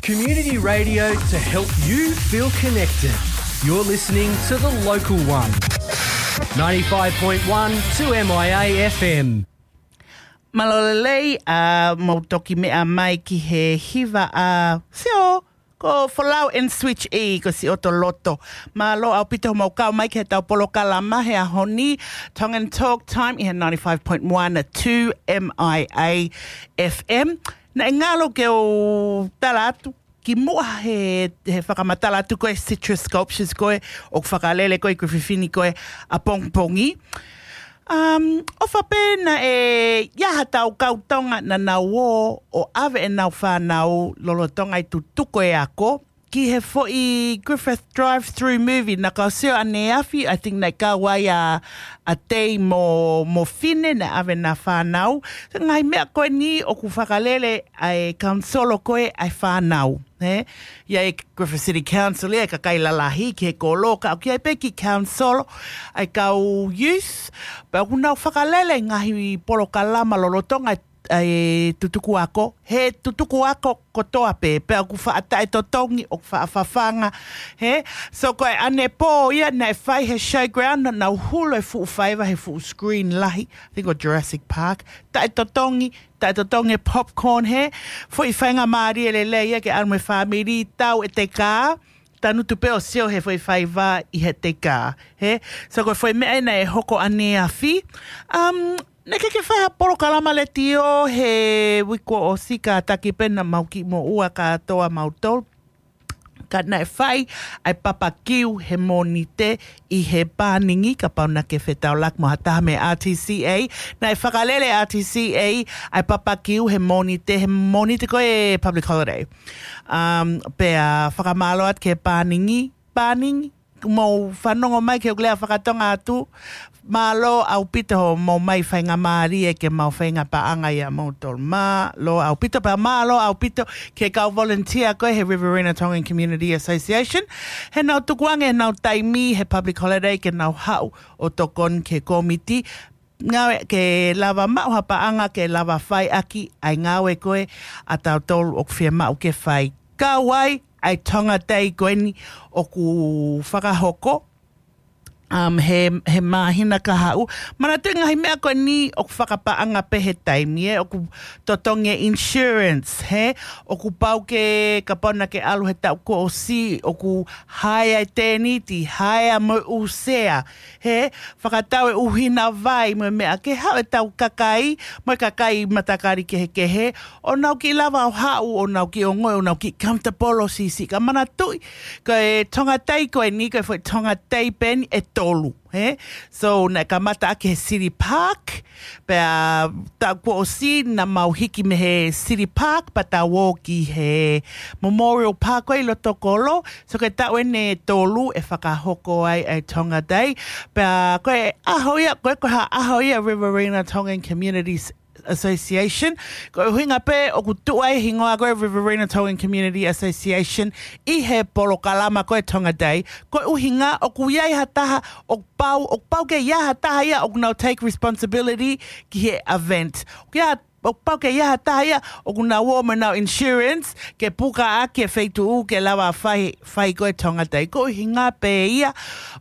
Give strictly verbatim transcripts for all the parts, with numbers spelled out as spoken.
Community radio to help you feel connected. You're listening to The Local One. Ninety-five point one two M I A F M. Mālō e lelei, ʻa, mau toki meʻa mai ki he hiva ʻa Sio, ko Folau and Switch E, ko Siʻoto Loto. Mālō ʻaupito hoʻomou kau mai ki heʻetau polokalama he ʻaho ni, Tongan Talk Time, ʻi he ninety-five point one two M I A F M. Naʻe ngalo ke u tala atu, kimuʻa he, he fakamatala atu ko e Citrus Sculptures ko ē, ʻoku fakalele ko ē ʻi Griffith ni ko ē ʻapongipongi. Um, ʻofa pē naʻe ʻi ai haʻatau kau Tonga naʻa nau ō ʻo ʻave ʻenau fānau lolotonga e tutuku e ako ki he foʻi Griffith drive-through movie naʻa ku sio ʻaneafi, I think naʻe kau ai ʻa, ʻa Tei mo, mo Fine naʻe ʻave ʻena fānau. Ngaahi meʻa ko eni ʻoku fakalele ʻa e kaunisolo ko ē ʻa e fānau. He? ʻI ai e Griffith City Council ia, e kakai lalahi ki he kolo, ka ʻoku ʻi ai pē kiʻi kaunisolo ʻa e kau youth, pea ʻoku nau fakalele ngaahi polokalama lolotonga e, e tutuku ako, he tutuku ako kotoa pē, pea ʻoku faʻa taʻetotongi, ʻoku faʻa fafanga, he? So ko e ʻanepō ia naʻe fai he showground, naʻa nau hulu e fuʻu faiva he fuʻu screen lahi, I think ʻo Jurassic Park, taʻetotongi, taʻetotongi e popcorn he, foʻi faingamālie lelei ia ke ʻalu mo e fāmili, tau ʻete kā, tangutu pē ʻo sio he foʻi faiva ʻi heʻete kā, he. So ko e foʻi meʻa ena ʻe hoko ʻaneafi. Um, naʻe ʻikai ke fai ha polokalama letiō he uike kuo ʻosi, kātaki pē naʻa mau kiʻi moʻua kātoa mautolu. Ka naʻe fai ʻa e papakiu he Mōnite ʻi he Pāningi, kapau naʻa ke fetaulaki mo ha taha mei he R T C A. Naʻe fakalele R T C A ʻa e papakiu he Mōnite, he Mōnite ko e public holiday. Um, pea fakamālō atu ki he Pāningi, Pāningi, mou fanongo mai ki heʻeku lea fakatonga atu, mālō ʻaupito hoʻomou mai faingamālie ke mau feinga paʻanga ʻia moutolu. Mālō ʻaupito, pea mālō ʻaupito ki he kau volunteer ko ē he Riverina Tongan Community Association. He nau tukuange ʻenau taimi he public holiday ke nau haʻu ʻo tokoni ki he kōmiti. Ngāue ke lava maʻu ha paʻanga ke lava fai ʻaki ʻa e ngāue ko ē ʻa tautolu ʻoku fiemaʻu ke fai. Kau ai ʻa e Tonga Day ko eni ʻoku fakahoko, um, he, he māhina kahaʻu. Manatuʻi ngaahi meʻa ko eni ʻoku fakapaʻanga pē he taimi ē, ʻoku totongi e insurance, he? ʻOku pau ke, kapau naʻa ke ʻalu he taʻu kuo ʻosi, ʻoku haea e tēniti, haea mo e ʻū sea, he? Fakatau e ʻuhina vai mo e meʻa ke haʻu ʻetau kakai, mo e kakai matakali kehekehe, ʻo nau kiʻi lava ʻo haʻu, ʻo nau kiʻi ongoʻi, ʻo nau kiʻi comfortable ʻo siʻisiʻi. Ka manatuʻi, ko e Tonga Day ko eni, ko e foʻi Tonga Day pē eni ʻe tolu, he? So, naʻe kamata ʻaki he City Park, pea taʻu kuo ʻosi naʻa mau hiki mei he City Park, pea tau ō ki he Memorial Park ko ē ʻi loto kolo. So, ko e taʻu eni ʻe tolu ʻe fakahoko ai ʻa e Tonga Day. Pea ko e ʻaho ia, ko e ko ha ʻaho ia Riverina Tongan Communities Association. Ko e ʻuhinga pē ʻoku tuʻu ai e hingoa ko ē Riverina Tongan Community Association ʻi he polokalama ko e Tonga Day. Ko e ʻuhinga ʻoku ʻi ai ha taha, ʻoku pau, ʻoku pau ke ʻi ai ha taha ia ʻoku nau take responsibility ki he event. ʻOku ʻi ai ha, ʻoku pau ke ʻi ai ha taha ia ʻoku nau ō mo ʻenau insurance ke puka ʻaki e feituʻu ke lava fai, fai ko e Tonga Day. Ko e ʻuhinga pē ia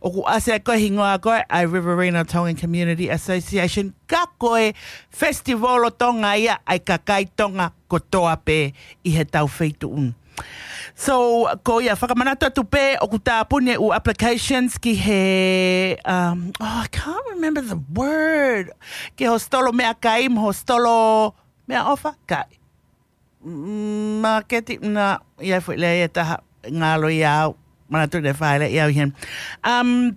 ʻoku ʻasi ai ko e hingoa ko ē ʻa e Riverina Tongan Community Association, ka ko e festival ʻo Tonga ia ʻa e kakai Tonga kotoa pē ʻi heʻetau feituʻu. So, ko ia fakamanatu atu pē ʻoku tāpuni e ʻū applications ki he, um, oh, I can't remember the word. Ki he hositolo meʻakai, mo e hositolo meʻaʻofa, kai. Mm, māketi, na, ʻi ai foʻi lea ia ʻe taha, ngalo ia au, manatu ne fai lea ia au ʻi heni. Um,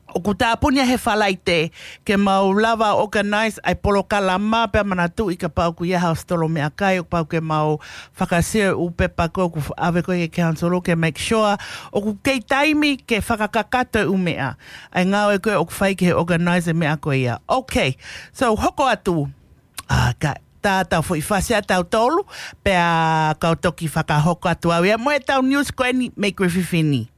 ʻoku tāpuni ia he Falaite, ke mau lava organize ʻa e polokalama pea manatuʻi kapau ʻoku ʻi ai ha hositolo meʻakai, ʻoku pau ke mau fakasio e ʻū pepa ko ē ʻoku ʻave ko ē ki he council ke make sure ʻoku kei taimi ke fakakakato e ʻū meʻa. ʻA e ngāue ko ē ʻoku fai ki he organize e meʻa ko ia. Okay, so hoko atu. ʻA, ka, tā tau foʻi fasi ʻa tautolu, pea kau toki fakahoko atu au ia mo ʻetau news ko eni mei Griffith ni.